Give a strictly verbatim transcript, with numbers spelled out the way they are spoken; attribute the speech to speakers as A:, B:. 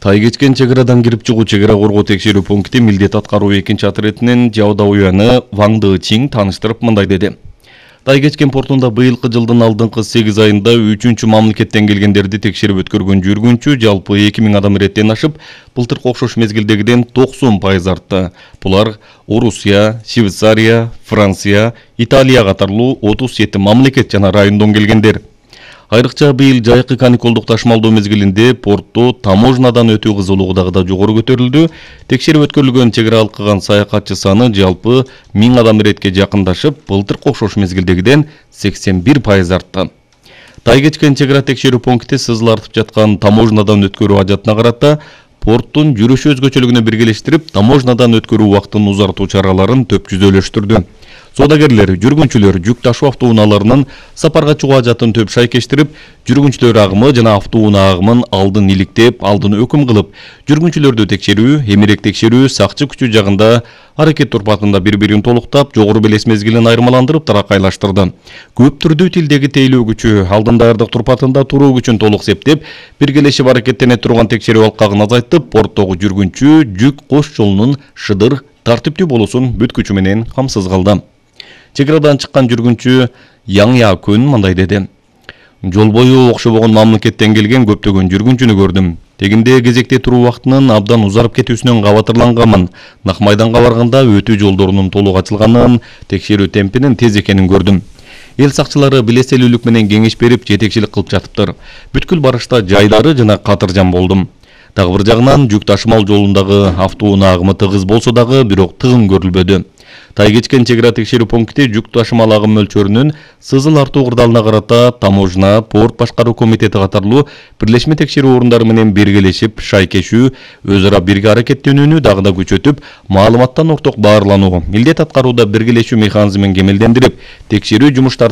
A: Тай кечкен чек арадан кирип чыгуу чек ара коргоо текшерүү пункти милдет аткаруу экинчи отрядынын Жаодауяны Ван Дычиң тааныштырып мындай деди. Тай кечкен портунда быйылкы жылдын алдыңкы сегиз айында үчүнчү мамлекеттен келгендерди текшерип өткөргөн жүргүнчү жалпы эки миң адам иреттен ашып, былтыркы окшош мезгилдегиден токсон пайыз артты. Булар Орусия, Швейцария, Франция, Италия катарлуу отуз жети мамлекет жана райондон келгендер. Айрыкча быйыл жайкы каникулдук ташымалдоо мезгилинде портто таможнадан өтүү кызуулугу дагы да жогору көтөрүлдү. Текшерип өткөрүлгөн чек ара алкыган саякатчы саны жалпы миң адам иретке жакындашып, былтыркы окшош мезгилдегиден сексен бир пайыз артты. Тай кечкен чек ара текшерүү пункти сызылартып жаткан таможнадан өткөрүү ажатына карата порттун жүрүш өзгөчөлүгүнө биргелештирип, таможнадан өткөрүү убактын узартуу чараларын төп жүзөлөштүрдү. Содагерлер, жүргүнчүлөр жүк ташуу автоунааларынын сапарга чыгуу ажатын төп шайкештирип, жүргүнчүлөр агымы жана автоунаа агымын алдын иликтеп, алдын өкүм кылып, жүргүнчүлөрдү текшерүү, эмерек текшерүү, сакчы күчү жагында аракет турпатында бири-бирин толуктап, жогору белес мезгилин айырмаландырып таракайлаштырды. Көп түрдүү тилдеги тейлөө күчү, алдын даярдык турпатында туруу күчүн толук септеп, биргелешип аракеттене турган текшерүү алкагын азайтып, порттогу жүргүнчү, жүк кош жолунун шыдыр, тартиптүү болуусун бүт күчү менен камсыз кылды. Чек арадан чыккан жүргүнчү Яң Якун мындай деди. Жол бою окшобогон мамлекеттен келген көптөгөн жүргүнчүнү көрдүм. Тегинде кезекте туруу убактынын абдан узарып кетүүсүнөн кабатырланганмын. Нак майданга барганда өтүү жолдорунун толук ачылганын, текшерүү темпинин тез экенин көрдүм. Эл сакчылары билеселүүлүк менен кеңеш берип, жетекчилик кылып жатыптыр. Бүткүл барышта жайдары жана катыржан болдум. Дагы бир жагынан жүк ташымал жолундагы автоунаа агымы тыгыз болсо дагы, бирок тыгын көрүлбөдү. Тай кечкен чек ара текшерүү пункти жүк ташымал агым мөлчөрүнүн сызыл артуу кырдаалына карата таможна, порт башкаруу комитети катарлуу бирлешме текшерүү орундары менен биргелешип, шайкешүү, өз ара бирге аракеттенүүнү дагы да күчөтүп, маалыматтан орток баарлануу, милдет аткарууда биргелешүү механизмин кемелдендирип, текшерүү жумуштары